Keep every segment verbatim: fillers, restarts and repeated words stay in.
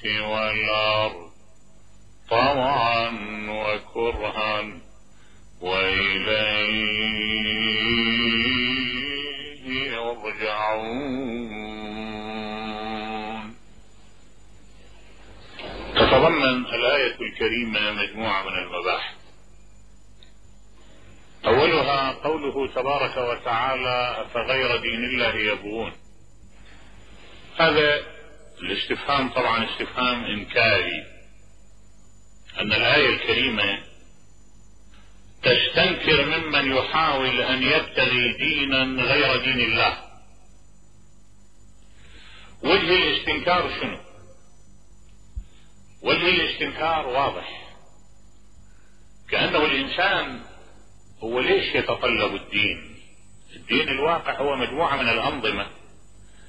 والأرض طوعا وكرها وإليه يرجعون. تتضمن الآية الكريمة مجموعة من المباحث. أولها قوله تبارك وتعالى: أفغير دين الله يبغون. هذا الاستفهام طبعا استفهام إنكاري، أن الآية الكريمة تستنكر ممن يحاول أن يبتغي دينا غير دين الله. وجه الاستنكار شنو؟ وجه الاستنكار واضح، كأنه الإنسان هو ليش يتطلب الدين؟ الدين الواقع هو مجموعة من الأنظمة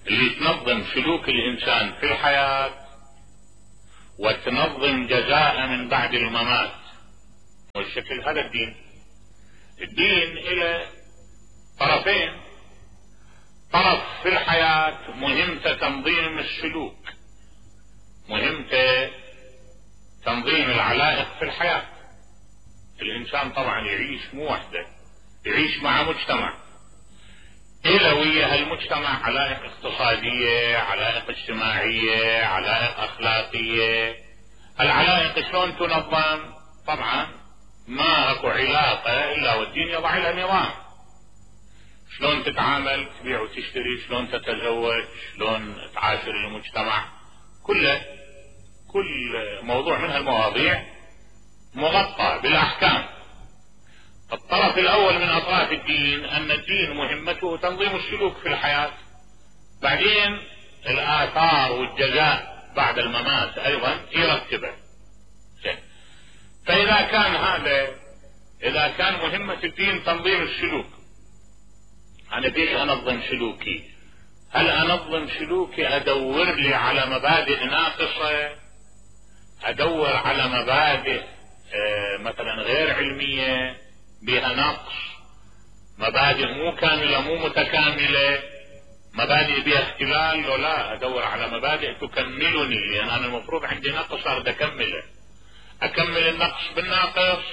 اللي تنظم سلوك الإنسان في الحياة وتنظم جزاء من بعد الممات، والشكل هذا الدين. الدين إلى طرفين: طرف في الحياة مهمته تنظيم السلوك، مهمته تنظيم العلائق في الحياة. الإنسان طبعا يعيش مو وحده، يعيش مع مجتمع، إلى ويا هالمجتمع علائق اقتصادية، علائق اجتماعية، علائق أخلاقية. العلائق شلون تنظم؟ طبعا ما اكو علاقة إلا والدين يضع لها نظام. شلون تتعامل، تبيع وتشتري، شلون تتزوج، شلون تعاشر المجتمع، كله كل موضوع من هالمواضيع مغطى بالأحكام. الطرف الأول من أطراف الدين أن الدين مهمته تنظيم السلوك في الحياة، بعدين الآثار والجزاء بعد الممات أيضا يرتبه. فإذا كان هذا، إذا كان مهمة الدين تنظيم السلوك، أنا بيش أنظم سلوكي؟ هل أنظم سلوكي أدور لي على مبادئ ناقصة، أدور على مبادئ آه مثلا غير علمية بها نقص، مبادئ مو كاملة مو متكاملة، مبادئ بها اختلال؟ لو لا، أدور على مبادئ تكملني، لأن أنا المفروض عندي نقص أريد أكمله. أكمل النقص بالناقص،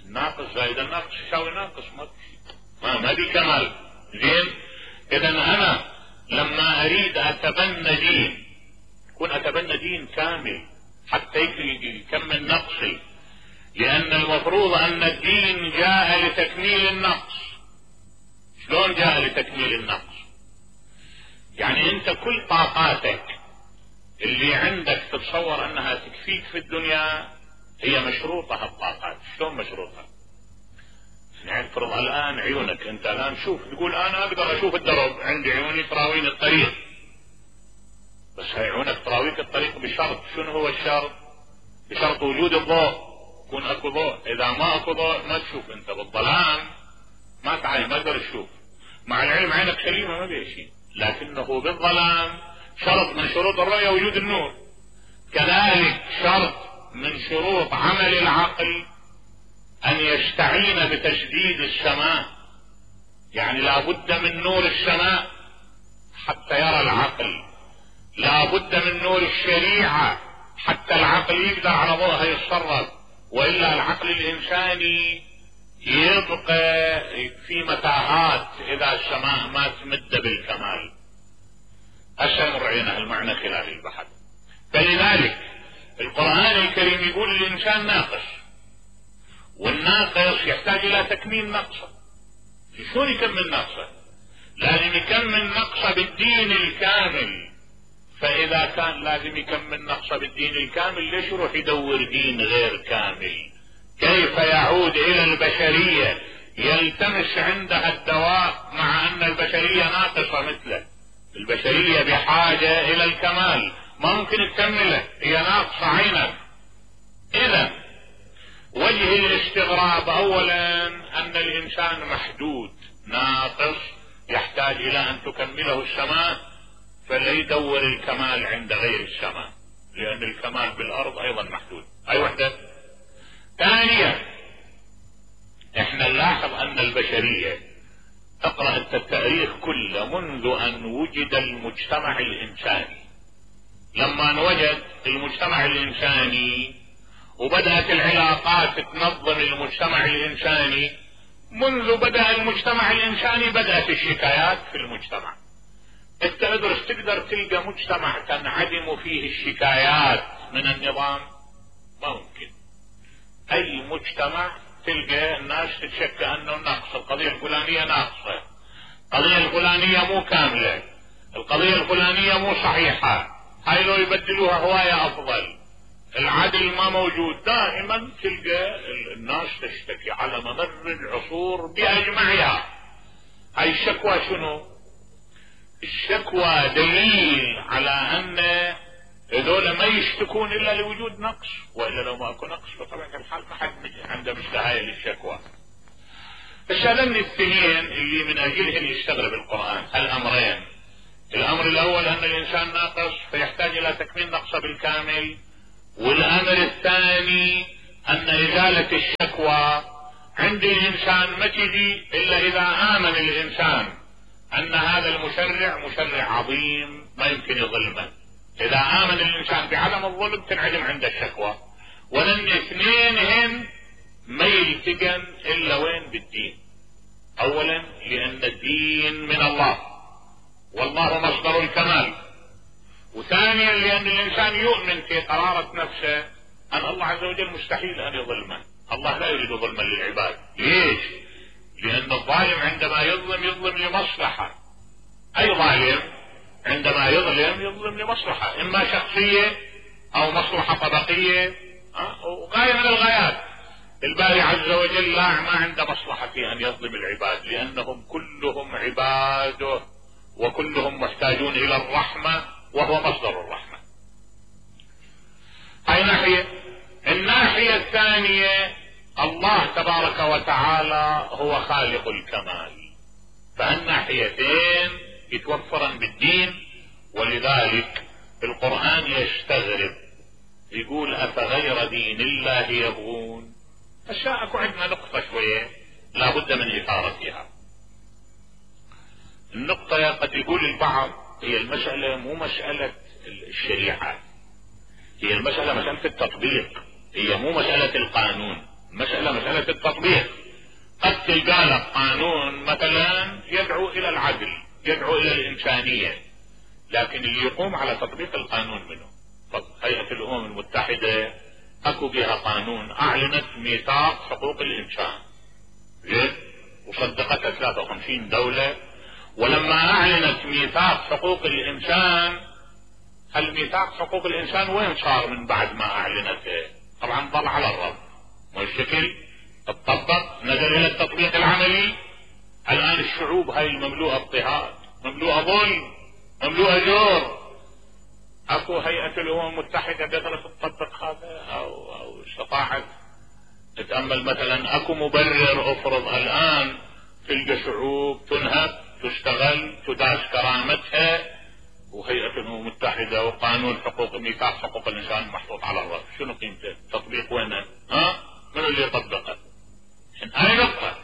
الناقص زائد الناقص يساوي ناقص، ما ما دي كمال. زين، إذا أنا لما أريد أتبنى دين كن أتبنى دين كامل حتى يكمل نقصي، لأن المفروض أن الدين جاء لتكميل النقص. شلون جاء لتكميل النقص؟ يعني أنت كل طاقاتك اللي عندك تتصور أنها تكفيك في الدنيا هي مشروطة. هالطاقات شلون مشروطة؟ يعني فرض الآن عيونك، أنت الآن شوف، تقول أنا أقدر أشوف الدرب، عندي عيوني تراويني الطريق، بس هاي عيونك تراويك الطريق بشرط. شنو هو الشرط؟ بشرط وجود الضوء، يكون اكو ضوء. اذا ما اكو ضوء ما تشوف، انت بالظلام ما تعاين، ما تقدر تشوف. مع العلم عينك سليمة ما بيها شيء، لكنه بالظلام شرط من شروط الرؤية وجود النور. كذلك شرط من شروط عمل العقل ان يستعين بتشديد السماء، يعني لا بد من نور السماء حتى يرى العقل، لا بد من نور الشريعة حتى العقل يقدر على ضوءها يتصرف، وإلا العقل الإنساني يبقى في متاهات إذا السماء ما تمد بالكمال. هسه مرعينا المعنى خلال البحث. فلذلك القرآن الكريم يقول الإنسان ناقص، والناقص يحتاج إلى تكميل نقصه. شلون يكمل نقصه؟ لازم يكمل نقصه بالدين الكامل. فإذا كان لازم يكمل نقصه بالدين الكامل، ليش يروح يدور دين غير كامل؟ كيف يعود إلى البشرية يلتمس عندها الدواء مع أن البشرية ناقصة مثله؟ البشرية بحاجة إلى الكمال، ما ممكن تكمله، هي ناقصة عينك. إذا وجه الاستغراب أولا أن الإنسان محدود ناقص يحتاج إلى أن تكمله السماء، فلا يدور الكمال عند غير السماء، لأن الكمال بالأرض أيضا محدود. أي وحدة. ثانيا احنا نلاحظ أن البشرية، اقرأ التاريخ كله منذ أن وجد المجتمع الإنساني، لما وجد المجتمع الإنساني وبدأت العلاقات تنظم المجتمع الإنساني، منذ بدأ المجتمع الإنساني بدأت الشكايات في المجتمع. انت ادرس تقدر تلقى مجتمع تنعدم فيه الشكايات من النظام؟ ما ممكن. اي مجتمع تلقى الناس تتشكى انه ناقص، القضية الفلانية ناقصة، القضية الفلانية مو كاملة، القضية الفلانية مو صحيحة، هاي لو يبدلوها هواية افضل، العدل ما موجود. دائما تلقى الناس تشتكي على ممر العصور باجمعها. هاي الشكوى شنو؟ الشكوى دليل على ان هذول ما يشتكون الا لوجود نقص، والا لو ما اكو نقص بطبيعة الحال ما حد عنده مشتهاية للشكوى. الشغلين الاثنين اللي من اجلهن يستغرب القرآن الامرين: الامر الاول ان الانسان ناقص فيحتاج الى تكميل نقصه بالكامل، والامر الثاني ان ازالة الشكوى عند الانسان ما تجي الا اذا امن الانسان ان هذا المشرع مشرع عظيم ما يمكن يظلمه. اذا امن الانسان بعدم الظلم تنعدم عند الشكوى. ولن اثنينهن ما يلتقن الا وين؟ بالدين. اولا لان الدين من الله والله مصدر الكمال، وثانيا لان الانسان يؤمن في قرارة نفسه ان الله عز وجل مستحيل ان يظلمه. الله لا يريد ظلما للعباد. ليش؟ لان الظالم عندما يظلم يظلم لمصلحة. اي ظالم عندما يظلم يظلم لمصلحة، اما شخصية او مصلحة طبقية وغاية من الغايات. الباري عز وجل لا ما عنده مصلحة في ان يظلم العباد، لانهم كلهم عباده وكلهم محتاجون الى الرحمة وهو مصدر الرحمة. هاي ناحية. الناحية الثانية الله تبارك وتعالى هو خالق الكمال، فالناحيتين يتوفرن بالدين. ولذلك القرآن يستغرب يقول افغير دين الله يبغون. هسه اكو عندنا نقطة شوية لابد من اثارتها. النقطة قد يقول البعض هي المسألة مو مسألة الشريعة، هي المسألة مسألة التطبيق، هي مو مسألة القانون، مسألة مسألة التطبيق. قد تلقى لك قانون مثلا يدعو الى العدل، يدعو الى الانسانية، لكن اللي يقوم على تطبيق القانون منه. هيئة الامم المتحدة اكو بها قانون اعلنت ميثاق حقوق الانسان وصدقتها ثلاثة وخمسين دولة، ولما اعلنت ميثاق حقوق الانسان، الميثاق حقوق الانسان وين صار من بعد ما اعلنته؟ طبعا ضل على الرب، مو الشكل اتطبق، نزل الى التطبيق العملي. الان الشعوب هاي المملوءة اضطهاد، مملوءة ظلم، مملوءة جور، اكو هيئة الامم المتحدة قدرت تطبق هذا او او استطاعت تتأمل؟ مثلا اكو مبرر افرض الان تلقى شعوب تنهب، تشتغل، تداس كرامتها، وهيئة الامم المتحدة وقانون حقوق ميثاق حقوق الانسان محطوط على الرأس، شنو قيمته؟ تطبيق وينه؟ ها؟ من اللي يطبقه؟ هاي نقطة.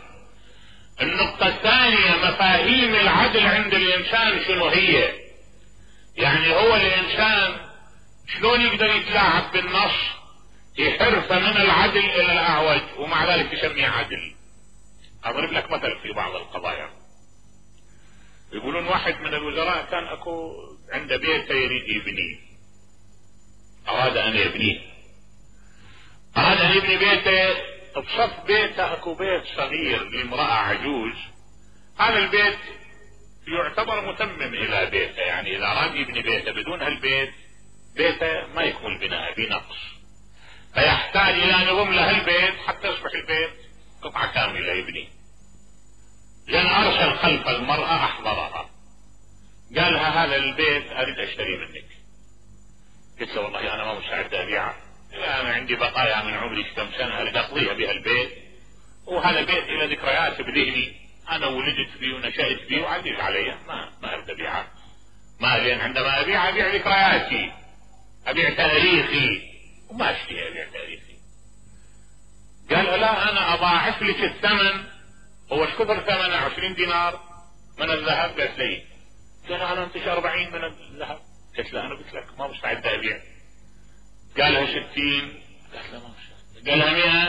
النقطة الثانية مفاهيم العدل عند الانسان شنو هي؟ يعني هو الانسان شلون يقدر يتلاعب بالنص يحرف من العدل الى الاعوج ومع ذلك يسميه عدل؟ اضرب لك مثل في بعض القضايا. يقولون واحد من الوزراء كان اكو عنده بيته يريد يبنيه، اراد ان يبنيه، اراد ان يبني بيته. بصف بيته اكو بيت صغير لامرأة عجوز، هذا البيت يعتبر متمم الى بيته، يعني اذا اراد يبني بيته بدون هالبيت بيته ما يكمل بناء بنقص، فيحتاج الى ان يضم له البيت حتى يصبح البيت قطعة كاملة يبني. لان ارسل خلف المرأة احضرها، قال لها هذا البيت اريد اشتري منك. قلت له والله انا ما مستعد ابيعه، انا عندي بقايا من عمري كم سنة اريد اقضيها بها البيت، وهذا بيت الى ذكريات بذهني، انا ولدت فيه ونشأت فيه وعزيز علي، ما ما اريد ابيعه. ما لين عندما ابيع ابيع ذكرياتي، ابيع تاريخي، وما اشتهي ابيع تاريخي. قال لا انا اضاعف لك الثمن. هو ايش كثر ثمنه؟ عشرين دينار من الذهب. قالت لي قال انا انتش اربعين من الذهب. قلت له انا قلت لك ما مستعد ابيع. قالها ستين، قالت له ما مستعد. قالها مئة،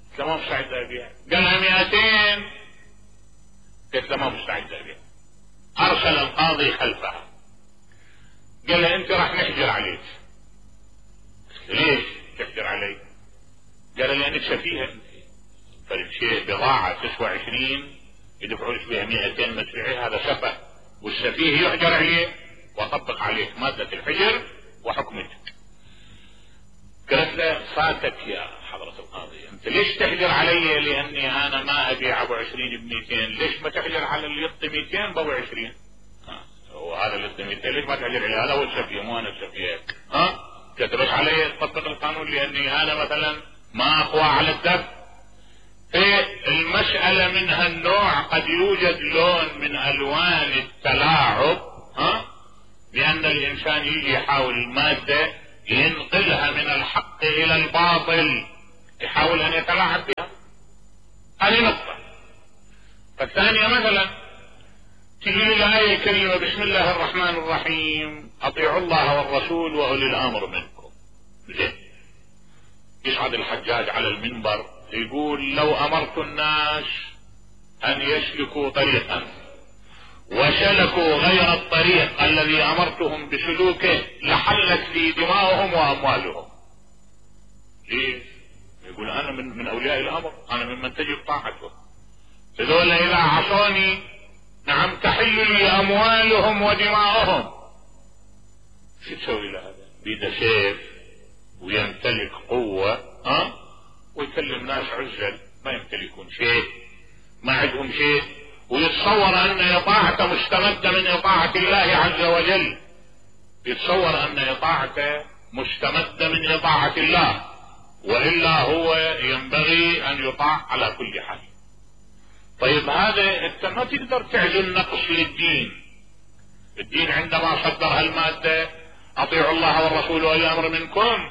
قلت له ما مستعد ابيع. قالها مئتين، قلت له ما مستعد ابيع. ارسل القاضي خلفها، قال له انت راح نحجر عليك. ليش تحجر علي؟ قال لانك سفيهه انت، فالشيء بضاعه تسوى عشرين يدفعوا لك بها مئتين ما تبيعيها، هذا سفه، والسفيه يحجر عليه واطبق عليك ماده الحجر وحكمتك. قالت له فاتك يا حضرة القاضي، انت ليش تحجر علي لاني انا ما ابيع ابو عشرين بمئتين؟ ليش ما تحجر على اللي يعطي مئتين بابو عشرين؟ وهذا اللي يعطي مئتين ليش ما تحجر عليه؟ هذا هو السفيه مو انا السفيه. ها كتبت علي تطبق القانون لاني انا مثلا ما اقوى على الدفع. في المسألة من هالنوع قد يوجد لون من الوان التلاعب، ها بان الانسان يجي يحاول المادة ينقلها من الحق الى الباطل، يحاول ان يتلاعب بها. هذه نقطة. فالثانية مثلا تجي الآية الكريمة بسم الله الرحمن الرحيم اطيعوا الله والرسول واولي الامر منكم. زين، يصعد الحجاج على المنبر يقول لو امرت الناس ان يسلكوا طريقا وسلكوا غير الطريق الذي امرتهم بسلوكه لحلت لي دماؤهم واموالهم. ليش؟ يقول انا من, من اولياء الامر، انا ممن تجب طاعته، هذول اذا عصوني نعم تحل لي اموالهم ودماؤهم. شو تسوي له هذا؟ بيده سيف ويمتلك قوة، ها ويكلم ناس عزل ما يمتلكون شيء، ما عندهم شيء، ويتصور ان اطاعته مستمدة من اطاعة الله عز وجل، يتصور ان اطاعته مستمدة من اطاعة الله، والا هو ينبغي ان يطاع على كل حال. طيب هذا انت ما تقدر تعزل نقص للدين. الدين عندما صدر هالمادة اطيعوا الله والرسول واولي الامر منكم،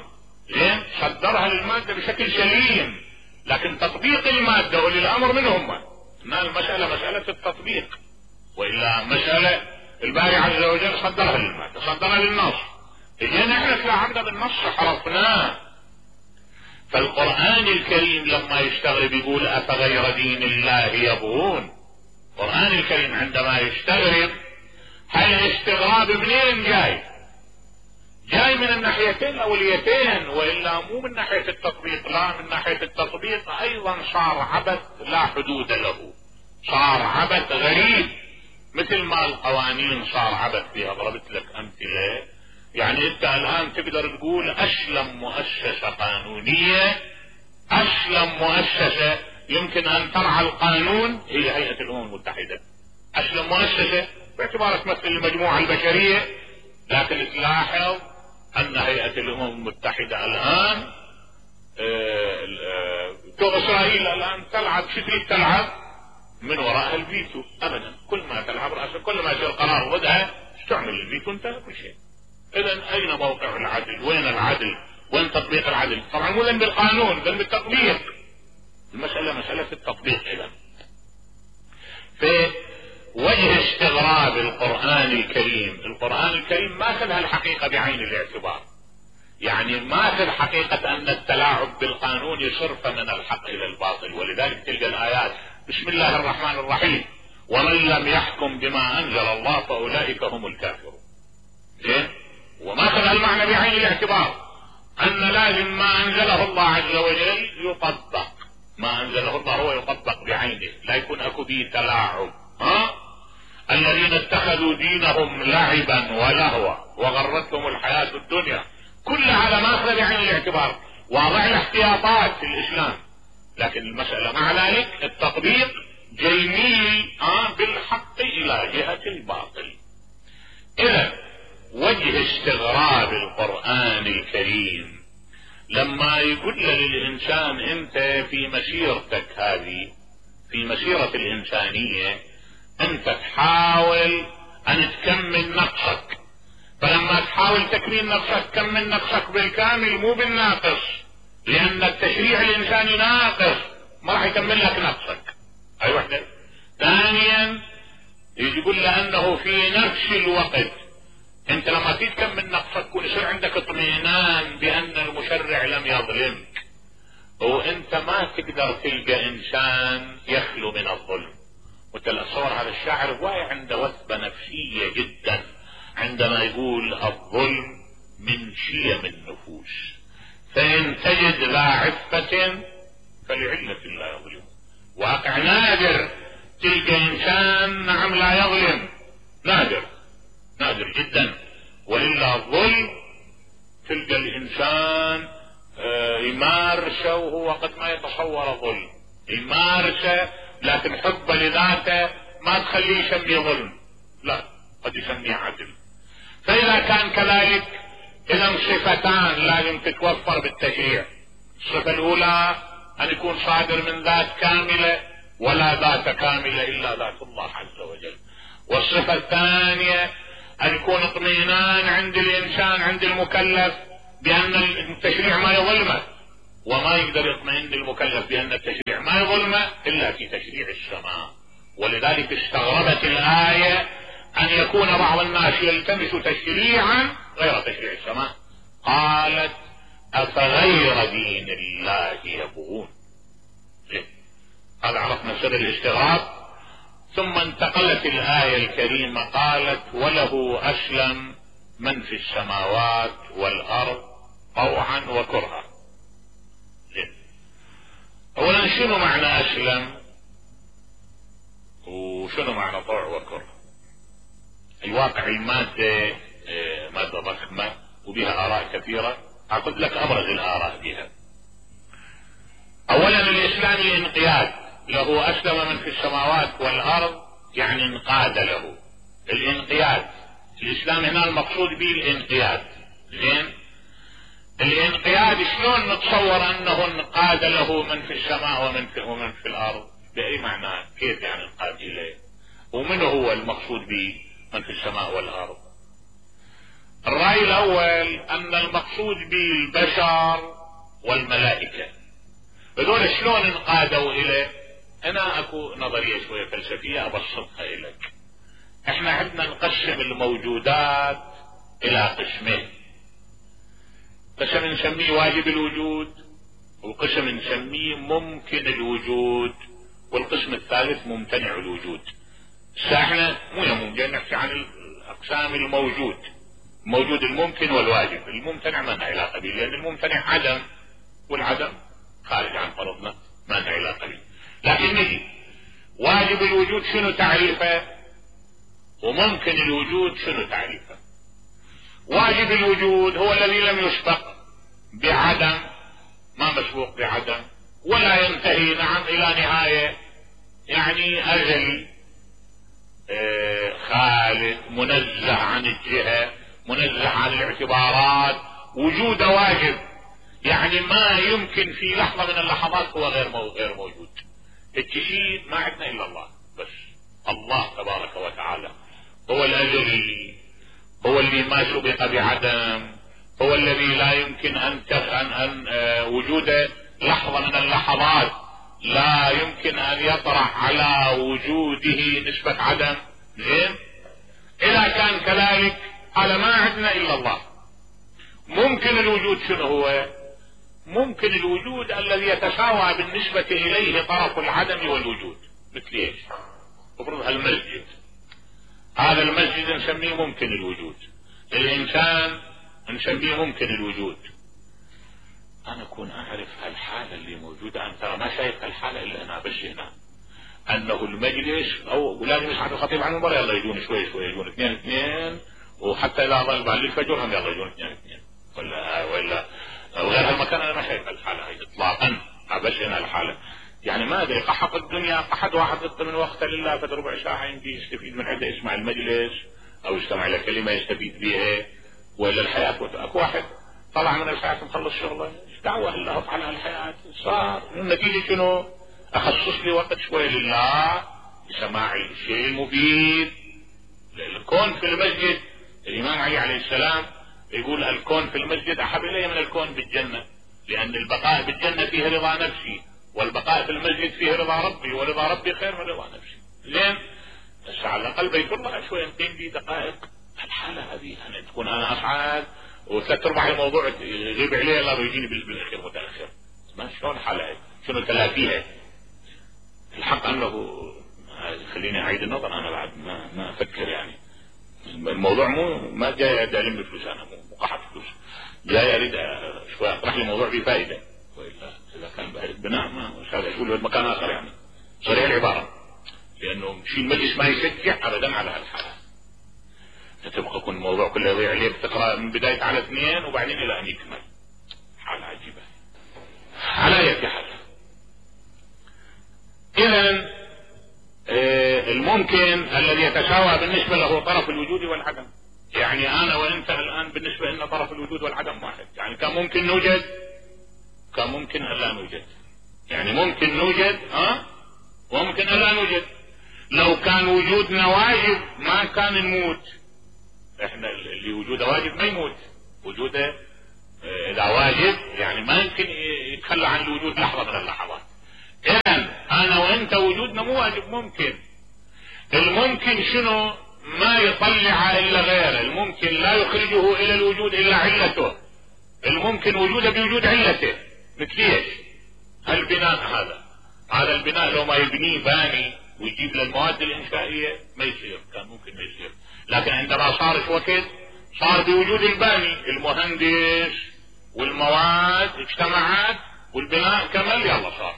زين صدرها للمادة بشكل سليم، لكن تطبيق المادة واولي الامر من هم؟ ما المسألة مسألة التطبيق، والا مسألة الباري عز وجل صدرها للمادة، صدرها للنص، اجينا احنا تلاعبنا بالنص حرفناه. فالقرآن الكريم لما يستغرب يقول افغير دين الله يبغون. القرآن الكريم عندما يستغرب هل الاستغراب منين جاي؟ جاي من الناحيتين الاوليتين، والا مو من ناحية التطبيق، لا من ناحية التطبيق ايضا صار عبث لا حدود له، صار عبث غريب، مثل ما القوانين صار عبث فيها. ضربت لك امثلة، يعني انت الان تقدر تقول اسلم مؤسسة قانونية، اسلم مؤسسة يمكن ان ترعى القانون هي هيئة الامم المتحدة. اسلم مؤسسة باعتبارها تمثل المجموعة البشرية، لكن تلاحظ ان هيئة الامم المتحدة الان تو اسرائيل الان تلعب شو تريد تلعب؟ من وراء الفيتو. ابدا، كل ما تلعب رأسك كل ما يصير قرار ضدها تعمل الفيتو انتهى كل شيء. اذا اين موقع العدل؟ وين العدل؟ وين تطبيق العدل؟ طبعا مو ذنب القانون، ذنب التطبيق. المسألة مسألة التطبيق. اذا في وجه استغراب القرآن الكريم، القرآن الكريم ما اخذ الحقيقة بعين الاعتبار، يعني ما اخذ حقيقة ان التلاعب بالقانون يصرف من الحق الى الباطل. ولذلك تلقى الايات بسم الله الرحمن الرحيم ومن لم يحكم بما انزل الله فاولئك هم الكافرون. زين، وما اخذ المعنى بعين الاعتبار ان لازم ما انزله الله عز وجل يطبق، ما انزله الله هو يطبق بعينه، لا يكون اكو به تلاعب. ها الذين اتخذوا دينهم لعبا ولهوا وغرتهم الحياة الدنيا، كل هذا ما اخذ بعين الاعتبار، واضع الاحتياطات في الاسلام، لكن المسألة مع ذلك التطبيق جيميل آه بالحق الى جهة الباطل. اذا وجه استغراب القرآن الكريم لما يقول للإنسان انت في مسيرتك هذه، في مسيرة الإنسانية انت تحاول ان تكمل نقصك، فلما تحاول تكميل نقصك كمل نقصك بالكامل مو بالناقص، لان التشريع الانساني ناقص ما راح يكمل لك نقصك. اي وحدة. ثانيا يقول لانه في نفس الوقت انت لما تكمل نقصك يكون يصير عندك اطمئنان بان المشرع لم يظلمك، وانت ما تقدر تلقى انسان يخلو من الظلم. وتصور هذا الشاعر واعي عنده وثبة نفسية جدا عندما يقول الظلم من شيم النفوس، فإن تجد ذا عفة فلعلة لا يظلم. واقع نادر تلقى انسان نعم لا يظلم، نادر نادر جدا. وإلا الظلم تلقى الانسان يمارسه وهو قد ما يتصور ظلم، يمارسه لكن حبه لذاته ما تخليه يسميه ظلم، لا قد يسميه عدل. فإذا كان كذلك إذا صفتان لازم تتوفر بالتشريع. الصفة الأولى أن يكون صادر من ذات كاملة، ولا ذات كاملة إلا ذات الله عز وجل. والصفة الثانية أن يكون اطمئنان عند الإنسان عند المكلف بأن التشريع ما يظلمه، وما يقدر يطمئن المكلف بأن التشريع ما يظلمه إلا في تشريع السماء. ولذلك استغربت الآية أن يكون بعض الناس يلتمس تشريعا غير تشريع السماء. قالت أفغير دين الله يبغون. هذا عرفنا سر الاستغراب. ثم انتقلت الآية الكريمة قالت وله أسلم من في السماوات والأرض طوعا وكرها. اولا شنو معنى اسلم وشنو معنى طوع وكره؟ الواقع المادة مادة ضخمة وبها آراء كثيرة، أقول لك أبرز الآراء بها. أولا الإسلام الانقياد له، أسلم من في السماوات والأرض يعني انقاد له. الانقياد الإسلام هنا المقصود به الانقياد. زين، الانقياد شلون نتصور أنه انقاد له من في السماء ومن في, ومن في الأرض؟ بأي معنى؟ كيف يعني انقاد إليه؟ ومن هو المقصود به من في السماء والأرض؟ الرأي الأول أن المقصود به البشر والملائكة. هذول شلون انقادوا إليه؟ أنا أكو نظرية شوية فلسفية أبسطها إليك. احنا عندنا نقسم الموجودات إلى قسمين، قسم نسميه واجب الوجود، وقسم نسميه ممكن الوجود، والقسم الثالث ممتنع الوجود. احنا مو يوم جاي نحكي عن الأقسام الموجود، موجود الممكن والواجب. الممتنع ما لنا علاقة به، لأن الممتنع عدم، والعدم خارج عن فرضنا ما لنا علاقة به. لكن نجي واجب الوجود شنو تعريفه، وممكن الوجود شنو تعريفه. واجب الوجود هو الذي لم يسبق بعدم، ما مسبوق بعدم، ولا ينتهي نعم إلى نهاية، يعني أزلي آه خالد، منزه عن الجهة، منزه عن الاعتبارات، وجود واجب، يعني ما يمكن في لحظة من اللحظات هو غير مو غير موجود. الشيء ما عندنا إلا الله بس. الله تبارك وتعالى هو الأزلي، هو اللي ما سبق بعدم، هو الذي لا يمكن أن أن أن آه وجوده لحظة من اللحظات لا يمكن أن يطرح على وجوده نسبة عدم. زين، إذا كان كذلك هذا ما عندنا إلا الله. ممكن الوجود شنو هو؟ ممكن الوجود الذي يتساوى بالنسبة إليه طرف العدم والوجود. مثل ايش؟ افرض المسجد، هذا المسجد نسميه ممكن الوجود، الإنسان نسميه ممكن الوجود. أنا أكون أعرف هالحالة اللي موجودة، أنا ترى ما شايف هالحالة إلا أنا بس هنا، أنه المجلس أو ولازم يسمع الخطيب عن المباراة يلا يجون شوي شوي، يجون اثنين اثنين، وحتى إذا ظل بعد الفجر هم يلا يجون اثنين اثنين، ولا ولا وغير هالمكان. أنا ما شايف هالحالة هاي إطلاقا، بس هنا الحالة يعني ما أدري قحط الدنيا، قحط واحد ضد من وقته لله فد ربع ساعة يمكن يستفيد من عده، يسمع المجلس أو يستمع إلى كلمة يستفيد بها، ولا الحياة. أكو واحد طلع من الحياة مخلص شغله، ايش دعوة الله على هالحياة؟ صار النتيجة شنو؟ أخصص لي وقت شوي لله لسماع الشيء المفيد. الكون في المسجد، الإمام علي عليه السلام يقول الكون في المسجد أحب إلي من الكون بالجنة، لأن البقاء بالجنة فيه رضا نفسي، والبقاء في المسجد فيه رضا ربي، ورضا ربي خير من رضا نفسي. زين، بس على الأقل بيت الله شوي نقيم به دقائق الحالة هذه أنا تكون أنا أصعد وثلاث أرباع الموضوع يغيب عليه الله ويجيني بالأخير متأخر. ما شلون الحالة هاي؟ شنو تلافيها؟ الحق أنه خليني أعيد النظر. أنا بعد ما ما أفكر يعني الموضوع مو ما جاي ألم بفلوس، أنا مو قحط فلوس، جاي أريد شوي أطرح لي موضوع فيه فائدة. وإلا إذا كان بهذا بناء ما مش هذا يقول بمكان آخر يعني صريح العبارة، لأنه شيء المجلس ما يشجع أبدا على هالحالة. تبقى يكون الموضوع كله يضيع عليه بتقرأ من بداية على اثنين وبعدين إلى أن يكمل. حالة عجيبة. على أي حال إذن آه الممكن الذي يتساوى بالنسبة له طرف الوجود والعدم. يعني أنا وأنت الآن بالنسبة لنا طرف الوجود والعدم واحد. يعني كان ممكن نوجد، كان ممكن ألا نوجد. يعني ممكن نوجد ها وممكن ألا نوجد. لو كان وجودنا واجب ما كان نموت. احنا اللي وجوده واجب ما يموت. وجوده اذا واجب يعني ما يمكن يتخلى عن الوجود لحظة من اللحظات. اذن انا وانت وجودنا مو واجب، ممكن. الممكن شنو؟ ما يطلع الا غيره. الممكن لا يخرجه الى الوجود الا علته. الممكن وجوده بوجود علته. مثل ايش؟ البناء هذا هذا البناء لو ما يبنيه باني ويجيب للمواد الانشائية ما يصير، كان ممكن ما يصير. لكن عندما صار شو وقت صار بوجود الباني، المهندس والمواد اجتمعت والبناء كمل يلا صار.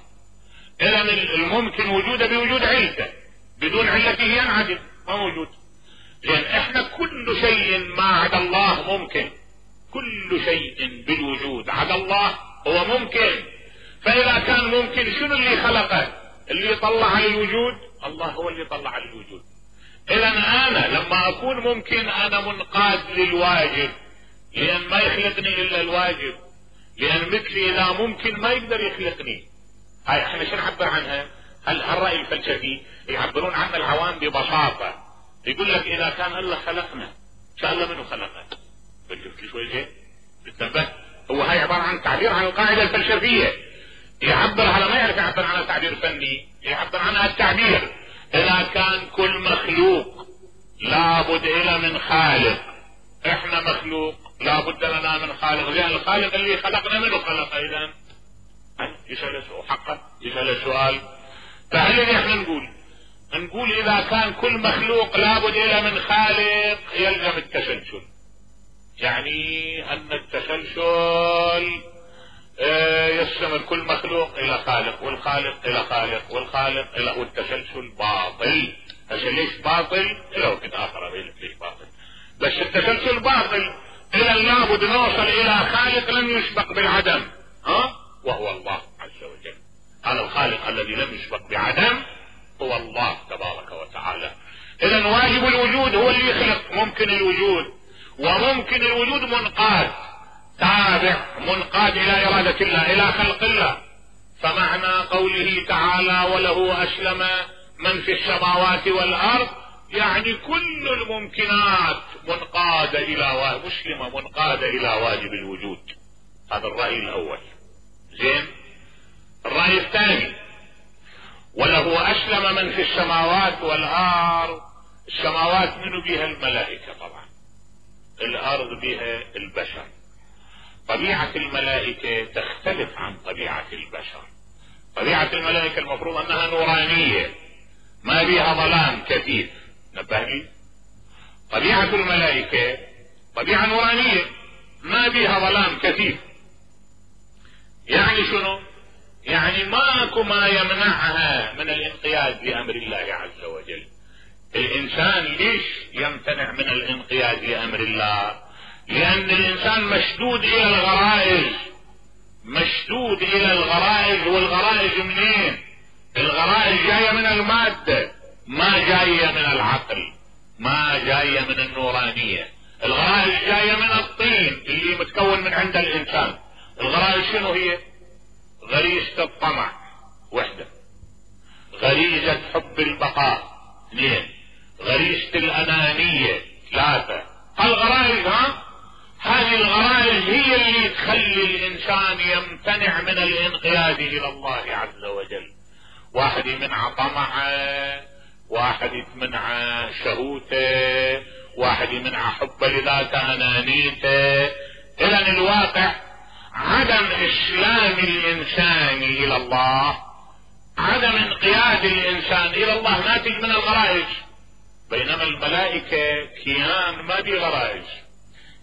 اذا الممكن وجوده بوجود علته، بدون علته ينعدم ما موجود. لان احنا كل شيء ما عدا الله ممكن. كل شيء بالوجود عدا الله هو ممكن. فاذا كان ممكن شنو اللي خلقه؟ اللي يطلع على الوجود الله هو اللي يطلع على الوجود. اذا انا لما اكون ممكن انا منقاد للواجب، لان ما يخلقني الا الواجب. لان مثلي اذا ممكن ما يقدر يخلقني. هاي احنا شو نعبر عنها؟ هالرأي الفلسفي يعبرون عنها العوام ببساطة. يقول لك اذا كان الله خلقنا ان شاء الله منه خلقه. شفت شوي زين؟ انتبه. هو هاي عبارة عن تعبير عن القاعدة الفلسفية. يعبر على ما يعرف يعبر عنها تعبير فني، يعبر عنها التعبير. اذا كان كل مخلوق لابد الى من خالق، احنا مخلوق لابد لنا من خالق، لان الخالق اللي خلقنا منه خلق. اذا يسأل حقا يسأل السؤال. فهل اللي احنا نقول نقول اذا كان كل مخلوق لابد الى من خالق يلزم التسلسل. يعني ان التسلسل يستمر كل مخلوق الى خالق والخالق الى خالق والخالق الى، والتسلسل باطل. هسه ليش باطل؟ الى وقت اخر اقول ليش باطل. بس التسلسل باطل. اذا لابد نوصل الى خالق لم يسبق بالعدم، ها وهو الله عز وجل. هذا الخالق الذي لم يسبق بعدم هو الله تبارك وتعالى. اذا واجب الوجود هو اللي يخلق ممكن الوجود، وممكن الوجود منقاد تابع منقاد الى ارادة الله الى خلق الله. فمعنى قوله تعالى وله اسلم من في السماوات والارض يعني كل الممكنات منقادة الى مسلمة منقادة الى واجب الوجود. هذا الرأي الاول. زين. الرأي الثاني وله اسلم من في السماوات والارض. السماوات منو بها؟ الملائكة طبعا. الارض بها البشر. طبيعة الملائكة تختلف عن طبيعة البشر. طبيعة الملائكة المفروض انها نورانية ما بها ظلام كثيف. نبه لي. طبيعة الملائكة طبيعة نورانية ما بها ظلام كثيف. يعني شنو؟ يعني ماكو ما يمنعها من الانقياد لامر الله عز وجل. الانسان ليش يمتنع من الانقياد لامر الله؟ لان الانسان مشدود الى الغرائز. مشدود الى الغرائز. والغرائز منين؟ الغرائز جاية من المادة ما جاية من العقل، ما جاية من النورانية. الغرائز جاية من الطين اللي متكون من عند الانسان. الغرائز شنو هي؟ غريزة الطمع وحدة، غريزة حب البقاء اثنين، غريزة الانانية ثلاثة. الغرائز ها هذه الغرائز هي اللي تخلي الانسان يمتنع من الانقياد الى الله عز وجل. واحد يمنع طمعه، واحد يمنع شهوته، واحد يمنع حبه لذاته انانيته. اذا الواقع عدم اسلام الانسان الى الله، عدم انقياد الانسان الى الله ناتج من الغرائز، بينما الملائكة كيان ما بيه غرائز.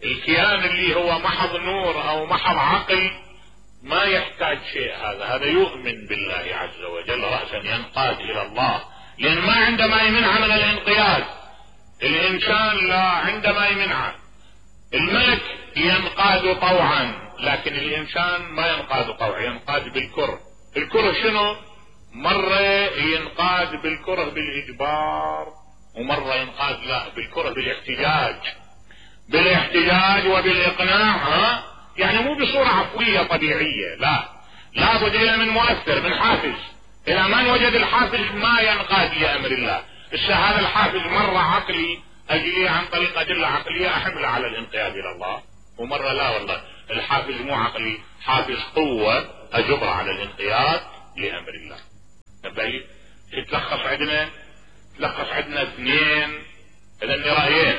الكيان اللي هو محض نور او محض عقل ما يحتاج شيء، هذا هذا يؤمن بالله عز وجل رأسا ينقاد الى الله، لان ما عنده ما يمنع من الانقياد. الانسان لا عنده ما يمنع. الملك ينقاد طوعا، لكن الانسان ما ينقاد طوعا، ينقاد بالكره. الكره شنو؟ مرة ينقاد بالكره بالاجبار، ومرة ينقاد لا بالكره بالاحتجاج، بالاحتجاج وبالاقناع. ها يعني مو بصورة عفوية طبيعية، لا، لابد إلى من مؤثر، من حافز. اذا ما وجد الحافز ما ينقاد لامر الله. هذا الحافز مرة عقلي اجي عن طريق ادلة عقلية احمله على الانقياد الى الله، ومرة لا والله الحافز مو عقلي، حافز قوة اجبر على الانقياد لامر الله. طيب يتلخص عندنا تلخص عندنا اثنين، اذا رأيين.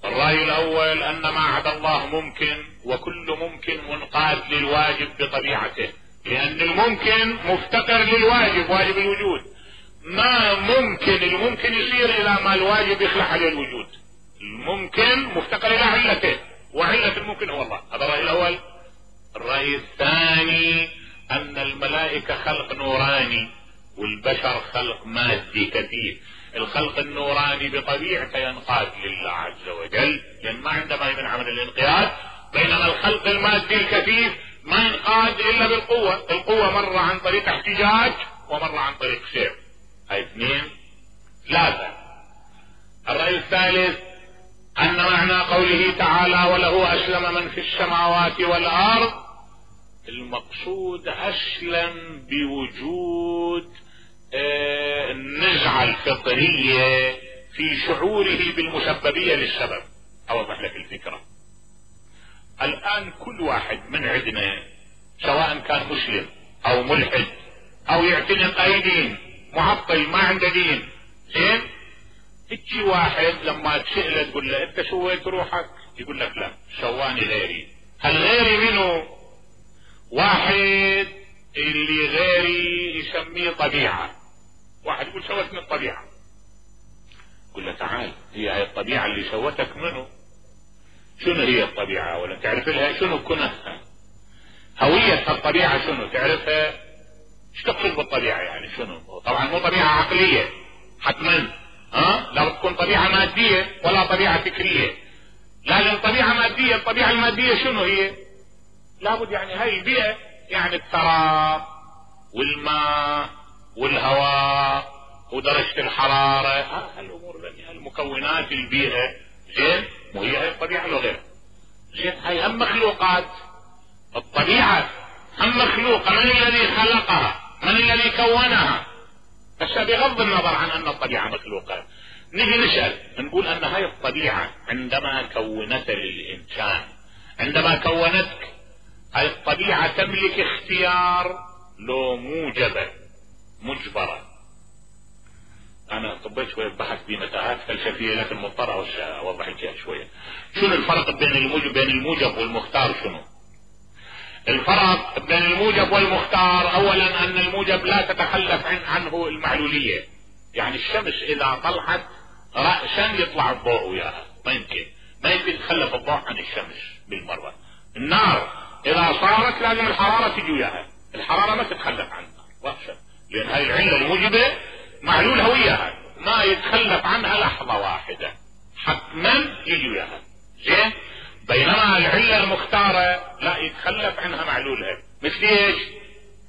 الرأي الاول ان ما عدا الله ممكن، وكل ممكن منقاد للواجب بطبيعته، لان الممكن مفتقر للواجب، واجب الوجود. ما ممكن الممكن يصير الى ما الواجب يخلق عليه الوجود. الممكن مفتقر الى علته، وعلة الممكن هو الله. هذا الرأي الاول. الرأي الثاني ان الملائكة خلق نوراني والبشر خلق مادي كثيف. الخلق النوراني بطبيعته ينقاد لله عز وجل، لان ما عنده ما يمنع من الانقياد، بينما الخلق المادي الكثيف ما ينقاد الا بالقوة. القوة مرة عن طريق احتجاج ومرة عن طريق سير. هاي اثنين. ثلاثة. الرأي الثالث ان معنى قوله تعالى وله اسلم من في السماوات والارض، المقصود اسلم بوجود اه النزعة الفطرية في شعوره بالمسببية للسبب. اوضح لك الفكرة. الان كل واحد من عندنا سواء كان مسلم او ملحد او يعتنق اي دين، معطل ما عنده دين، زين، تجي واحد لما تسأله تقول له انت سويت روحك، يقول لك لا سواني غيري. هل غيري منه؟ واحد اللي غيري يسميه طبيعة. واحد يقول سوتني الطبيعة، يقول له تعال هي هاي الطبيعة اللي سوتك منه. شنو هي الطبيعة؟ ولا تعرف لها شنو كنها؟ هوية الطبيعة شنو تعرفها؟ ايش تقصد بالطبيعة يعني شنو؟ طبعا مو طبيعة عقلية حتما، ها؟ لا تكون طبيعة مادية ولا طبيعة فكرية. لازم طبيعة مادية. الطبيعة المادية شنو هي؟ لابد يعني هاي البيئة، يعني التراب والماء والهواء ودرجة الحرارة، هالامور المكونات البيئة، زين، مو هي هاي الطبيعة لو غير. زين، هاي هم مخلوقات. الطبيعة هم مخلوقة، من الذي خلقها؟ من الذي كونها؟ بس بغض النظر عن ان الطبيعة مخلوقة، نجي نسأل نقول ان هاي الطبيعة عندما كونت للانسان، عندما كونتك، هاي الطبيعة تملك اختيار لو موجبة مجبرة؟ انا طبيت شوية بحث بمتاهات فلسفية لكن مضطر اوضح لك شوية. شنو الفرق بين الموجب بين الموجب والمختار؟ شنو الفرق بين الموجب والمختار؟ اولا ان الموجب لا تتخلف عن عنه المعلولية، يعني الشمس اذا طلعت رأسا يطلع الضوء وياها، ما يمكن ما يمكن يتخلف الضوء عن الشمس بالمرة. النار اذا صارت لازم الحرارة تجي وياها، الحرارة ما تتخلف عنها رأسا، لان هاي العلة الموجبة معلولها وياها، ما يتخلف عنها لحظة واحدة، حتما يجي وياها، زين. بينما العلة المختارة لا يتخلف عنها معلولها. مثل ايش؟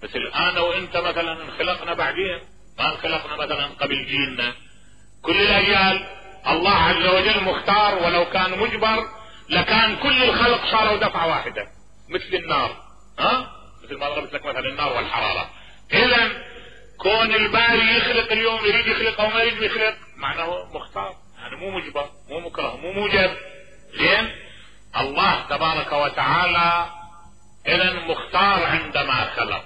مثل انا وانت مثلا انخلقنا بعدين، ما انخلقنا مثلا قبل جيلنا، كل الاجيال الله عز وجل مختار، ولو كان مجبر لكان كل الخلق صاروا دفعة واحدة، مثل النار، ها؟ مثل ما ضربت لك مثلا النار والحرارة. اذا كون الباري يخلق اليوم يريد يخلق او ما يريد يخلق، معناه مختار، يعني مو مجبر، مو مكره، مو موجب، زين. الله تبارك وتعالى اذا مختار عندما خلق،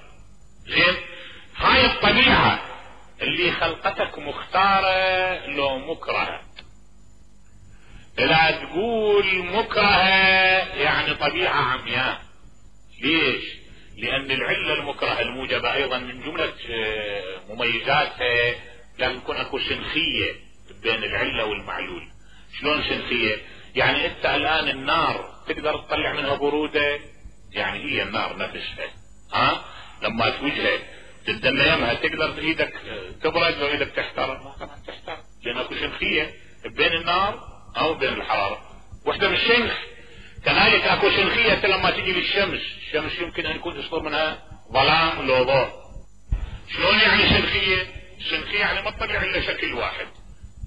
زين. هاي الطبيعة اللي خلقتك مختارة لو مكرهة. لا تقول مكرهة يعني طبيعة عمياء. ليش؟ لان العلة المكرهة الموجبة ايضا من جملة مميزاتها لازم يكون اكو سنخية بين العلة والمعلول. شلون سنخية؟ يعني انت الان النار تقدر تطلع منها برودة، يعني هي النار نفسها ها لما توجهها تدنيمها تقدر ايدك تبرد وايدك تحترق؟ ما طبعا تحترق، لان اكو سنخية بين النار او بين الحرارة، وحدة من الشنخ. كذلك اكو سنخية لما تجي للشمس، الشمس يمكن ان يكون يصدر منها ظلام لو ضوء. شلون يعني سنخية؟ سنخية يعني ما تطلع الا شكل واحد،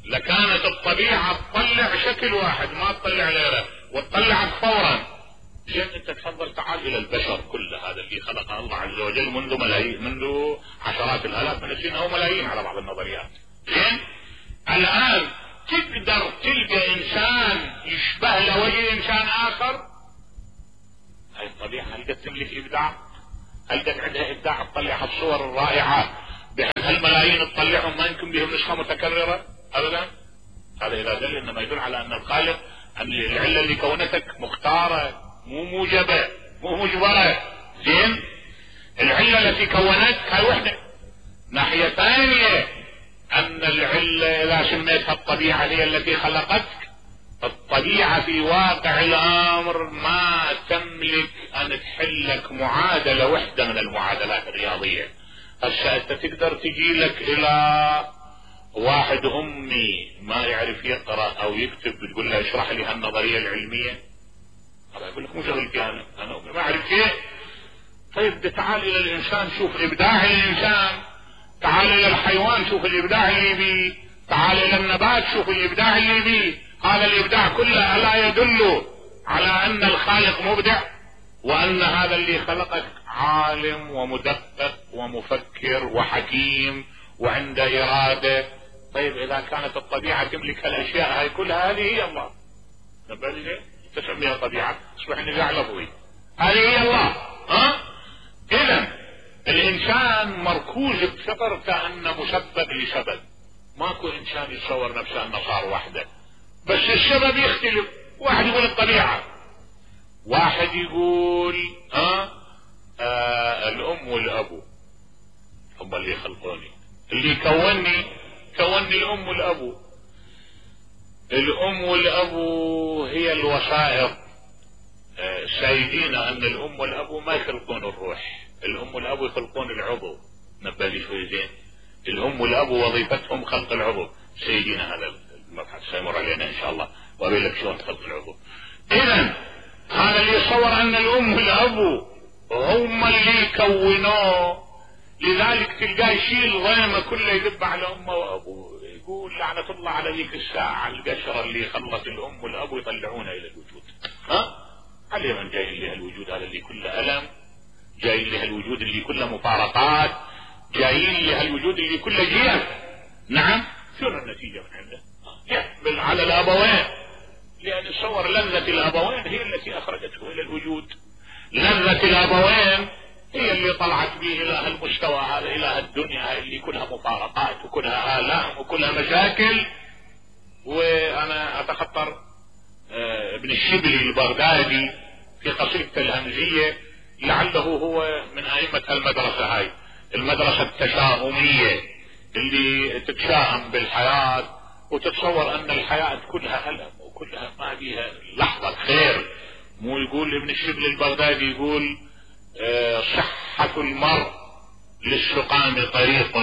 لكانت الطبيعة تطلع شكل واحد ما تطلع غيره وتطلعك فورا. زين انت تفضل تعال الى البشر كل هذا اللي خلقه الله عز وجل منذ ملايين، منذ عشرات الالاف من السنين او ملايين على بعض النظريات. زين الان تقدر تلقى انسان يشبه له وجه انسان اخر؟ هاي الطبيعة هل قد تملك ابداع؟ هل قد عندها ابداع تطلع الصور الرائعة بحيث هالملايين تطلعهم ما يمكن بهم نسخة متكررة؟ ابدا. هذا اذا دل انما يدل على ان الخالق ان العلة اللي كونتك مختارة مو موجبة مو مجبرة. زين العلة التي كونتك هاي وحدة. ناحية ثانية ان العلة اذا سميتها الطبيعة هي التي خلقتك، الطبيعة في واقع الامر ما تملك ان تحلك معادلة وحدة من المعادلات الرياضية. هسه انت تقدر تجي لك الى واحد امي ما يعرف يقرأ او يكتب تقول له اشرح لي هالنظرية العلمية، هذا يقول لك مو شغلتي انا انا ما اعرف شيء. طيب تعال الى الانسان شوف ابداع الانسان، تعال الى الحيوان شوف الابداع اللي بيه، تعال الى النبات شوف الابداع اللي بيه. هذا الابداع كله الا يدل على ان الخالق مبدع وان هذا اللي خلقك عالم ومدقق ومفكر وحكيم وعنده ارادة. طيب اذا كانت الطبيعة تملك هالاشياء هاي كلها هذه هي الله. نبالي تسميها طبيعة تصبح نزاع لفظي. هذه هي الله. ها اذا الانسان مركوز بفطر كأنه مسبب لسبب. ماكو انسان يتصور نفسه انه صار وحده، بس السبب يختلف. واحد يقول الطبيعة، واحد يقول ها آه الام والابو هم اللي خلقوني، اللي كوني كوني الام والابو. الام والابو هي الوسائط. آه سايدين ان الام والابو ما يخلقون الروح، الام والابو يخلقون العضو. نبالي شوي زين. الام والابو وظيفتهم خلق العضو. سيدينا هذا المبحث سيمر علينا ان شاء الله وابي لك شلون خلق العضو. اذا هذا اللي يصور ان الام والابو هم اللي كونوه، لذلك تلقاه يشيل ضيمه كله يذب على امه وابوه، يقول لعنة الله على ذيك الساعة القشرة اللي خلت الام والابو يطلعونها الى الوجود. ها علي من جاي لها الوجود هذا اللي كله الم، جاي لها الوجود اللي كله مفارقات، جايين لها الوجود اللي كله جيف. نعم شنو النتيجة من عنده؟ يحمل على الابوين، لان تصور لذة الابوين هي التي اخرجته الى الوجود. لذة الابوين هي اللي طلعت به الى هالمستوى هذا، الى هالدنيا اللي كلها مفارقات وكلها آلام وكلها مشاكل. وانا اتخطر آه ابن الشبلي البغدادي في قصيدته الهمزية، لعله هو من ائمة المدرسة هاي، المدرسة التشاؤمية اللي تتشائم بالحياة وتتصور ان الحياة كلها ألم وكلها ما بيها لحظة خير. مو يقول ابن الشبل البغدادي يقول اه صحة المرء للسقام طريق.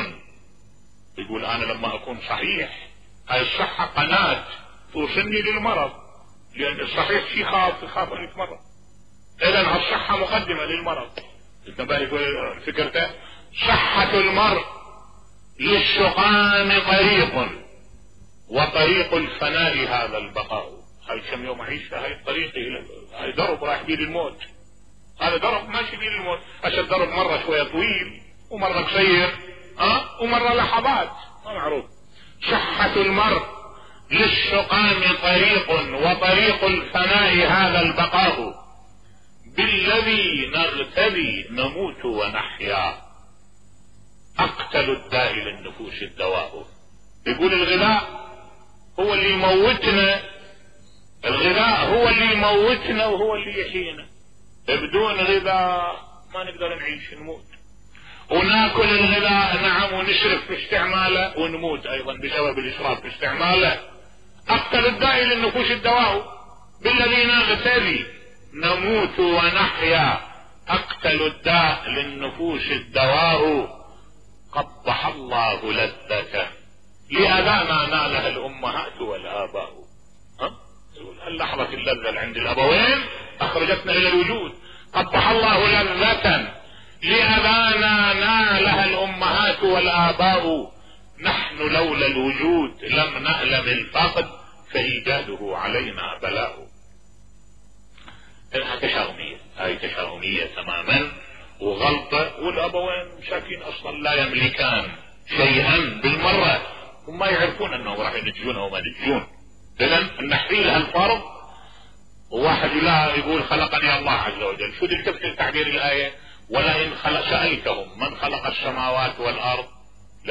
يقول انا لما اكون صحيح هاي الصحة قناة توصلني للمرض، لان الصحيح شي خاف يخاف ان يتمرض. اذا الصحة مقدمة للمرض. يقول فكرته صحة المرء للسقام طريق وطريق الفناء هذا البقاء. هاي كم يوم اعيش في هاي الطريق، هاي درب رايح بيه للموت، هذا درب ماشي بيه للموت. هسه الدرب مرة شوية طويل ومرة قصير ها ومرة لحظات ما معروف. صحة المرء للسقام طريق وطريق الفناء هذا البقاء، بالذي نغتدي نموت ونحيا، اقتل الداء للنفوس الدواء. يقول الغذاء هو اللي يموتنا الغذاء هو اللي يموتنا وهو اللي يحيينا. بدون غذاء ما نقدر نعيش، نموت. وناكل الغذاء نعم ونشرف في استعماله ونموت ايضا بسبب الاسراف في استعماله. اقتل الداء للنفوس الدواء بالذي نغتذي نموت ونحيا. اقتل الداء للنفوس الدواء قبح الله لذته لأذانا نالها الامهات والاباء. ها اللحظة اللذة اللي عند الابوين اخرجتنا الى الوجود. قبح الله لذة لأذانا نالها الامهات والاباء. نحن لولا الوجود لم نألم الفقد فإيجاده علينا بلاء. انها تشاؤمية، هاي تشاؤمية تماما وغلطة. والابوين مساكين اصلا لا يملكان شيئا بالمرة، هم يعرفون انهم راح ينتجون وما ينتجون. اذا النحيل هالفرض. وواحد لا يقول خلقني الله عز وجل. شو اللي تفسر تعبير الآية؟ ولئن خلق سألتهم من خلق السماوات والارض